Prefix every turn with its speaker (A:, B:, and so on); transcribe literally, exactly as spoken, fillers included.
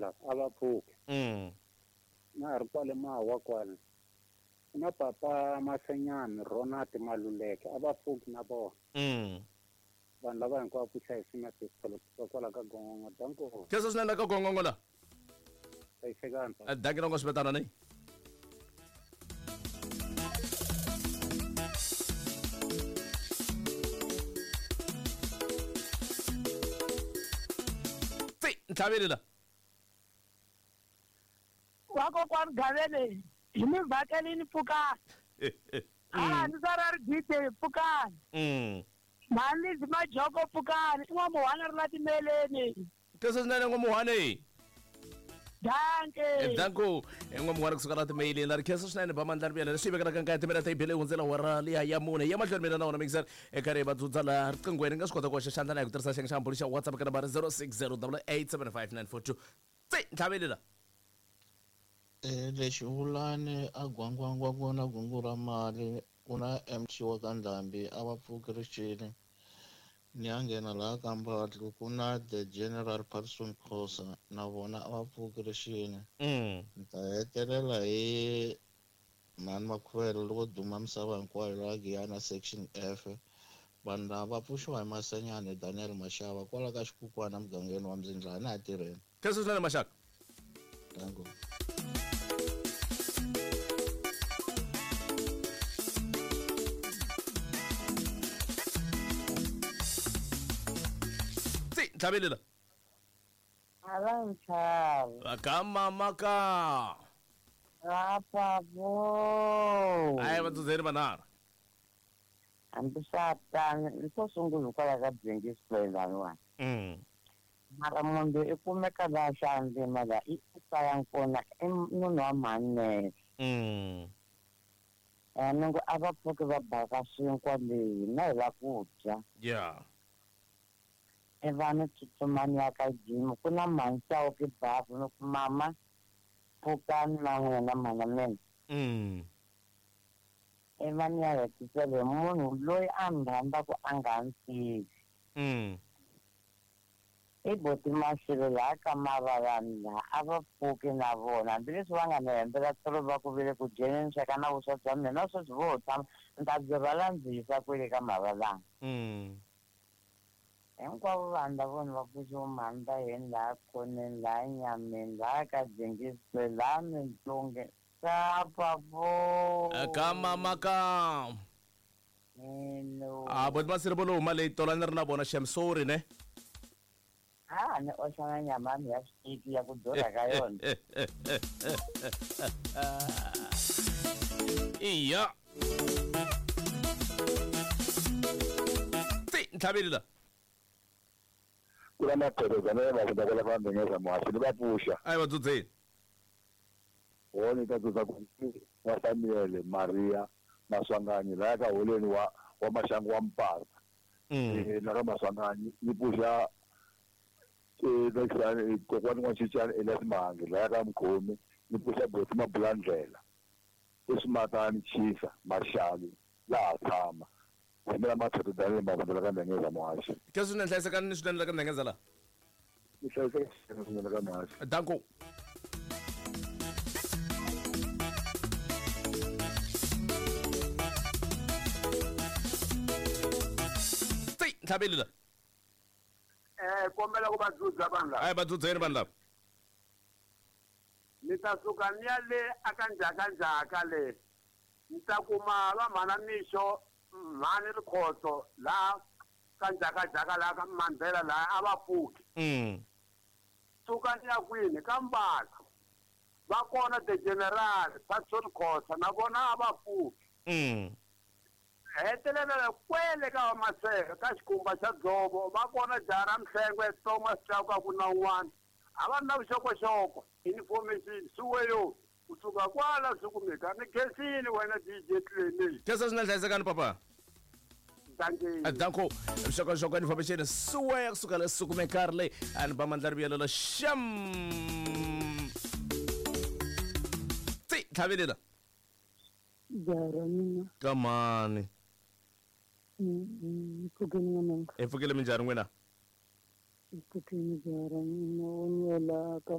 A: lava a va pfuki.
B: Mm.
A: Na ri kwale mawa kwale. Na papa Masenyani Ronald Maluleke a va pfuki na vona.
B: Mm.
A: Vanhu lava hinkwavo ku hlayisima tisolo kwala ka Gongongo danko.
B: Khensa swinene ka Gongongo la.
A: Hlayisekani.
B: Danki na swivetana ni. Ntlhaveli la.
C: Wa kokwani Gavele hi mi vhakelini pfukani. Ah ni sara ri D J pfukani.
B: Mm.
C: Mhani Majoko pfukani i n'wamuhwana ri la timeleni.
B: Khensa swinene n'wamuhwane.
C: Danke.
B: Danko n'wamuhwana kusuka la timeleni la ri khensa swinene ba mandla ri leswi vekelaka nkarhi timela ta ibele hundzela wara liya ya mune ya mahlweni mina na wona mixer eka ri va dzudza la riqinghweni nga swi kota ku hoxa xandla na hi ku tirhisa xiyenge xa mbulu xa WhatsApp ka nambara zero six zero double eight seven five nine four two. Tsi ntlhaveli la.
D: Eh lexi vulani a gwangwangwa vona gungu ra mali ku na M T wa ka Ndhambi a va pfuki rixile ni ya nghena laha ka Mbatlu ku na the General Patson Khosa na vona a va pfuki rixile.
B: Mm.
D: Ni ta hetelela hi mhani Makhuvele loko duma misava hinkwayo laha Giyani section F vanhu lava va pfuxiwa hi Masenyani Daniel Mashava kwala ka Xikukwana mugangeni wa Mzindlana na tirheni.
B: Khensa swinene Maxaka.
D: Danko.
B: Tsi ntlhaveli la.
E: A va nchavi.
B: Ka mama ka.
E: Rapavo.
B: Ayi va dzudzeni vanharhu.
E: Hambi swa tano ni to sungula hikwalaho ka Byengi Square laniwani.
B: Mm.
E: Mara munhu i kumeka laha xandzima laha i kaya kona i munhu wa mhani.
B: Mm.
E: Eh ni ngo a va pfuki va baka swinkwa leyi na hi la ku dya.
B: Yeah.
E: I va ni tsutsuma ni ya ka gym ku na mhani Chauke bafu ni ku mama pfukani na n'wina mhana mina.
B: Mm.
E: I va ni ya hetisela hi munhu loyi a ni rhandzaka a nga ni tivi.
B: Mm.
E: I boti Mashele laha ka Mavalani laha a va pfuki na vona hambileswi va nga ni hembela tolo va ku vile ku dyeni ni sweka na vuswa bya mina na sweswi vo tshama ni ta byi rhwala ndzi yisa kwele ka Mavalani.
B: Mm.
E: Hinkwavo vanhu lava va pfuxiwa mhani va yini laha khoneni laha nyameni laha ka Byengi Square laha Mintlunge Sapavo.
B: Ka mama ka.
E: Hello.
B: Ah boti Masiri vo lo huma leyi tola ni ri na vona xem sorry ne.
E: Ah ni oxa na nyama ya mina ya switeki ya ku durha ka yona.
B: Iya. Tsi ntlhaveli la.
F: Ku na maphepha va ku va ndengeza muhaxi ni va pfuxa.
B: Ayi va dzudzeni.
F: Wona ta dzudza ku wa Samuel Maria Maswanganyi laha ka holeni wa wa Maxangu wa Mpata.
B: Mm.
F: La ka Maswanganyi ni pfuxa eh lexani kokwani wa Chichani Elias Mahangi laha ka Mkhomi ni pfuxa Boti Mabulandlela Usmatani Chisa Marshali laha tshama mina Mathetho Daniel Mavundla ka Ndengeza muhaxi.
B: Khensa swinene hlayisekani ni swinene la ka Ndengeza la.
F: Ni hlayiseka swinene ka muhaxi.
B: Danko. Tsi ntlhaveli la.
G: Eh kombela ku va dzudza vanhu lava.
B: Ayi va dzudzeni vanhu lava.
G: Ni ta suka ni ya le aka ndzhaka ndzhaka le. Ni ta kuma va mhana Mixo mhani Rikhotso laha ka ndzhaka ndzhaka laha ka Mandela laha a va pfuki.
B: Mm.
G: Suka ni ya kwini ka Mbatha. Va kona the General Patson Khosa na vona a va pfuki.
B: Mm.
G: Hetelela kwele ka Maseko ka xikhumba xa dzovo va kona jaha ra Mhlengwe Thomas Chauke ku na un'wana a va na vuxokoxoko information suweyo ku suka kwala swi kumeka ni khensini wena D J Clene.
B: Khensa swinene hlayisekani papa.
G: Danke.
B: Danko vuxokoxoko information suweya kusuka le sukumekari leyi a ni ba mandla rivuyelela xam. Tsi ntlhaveli la.
H: Jaha mina.
B: Ka mani.
H: Pfukeni n'wananga.
B: Hi pfukile minjhani n'wina?
H: Pfukeni jaha mina o nyela ka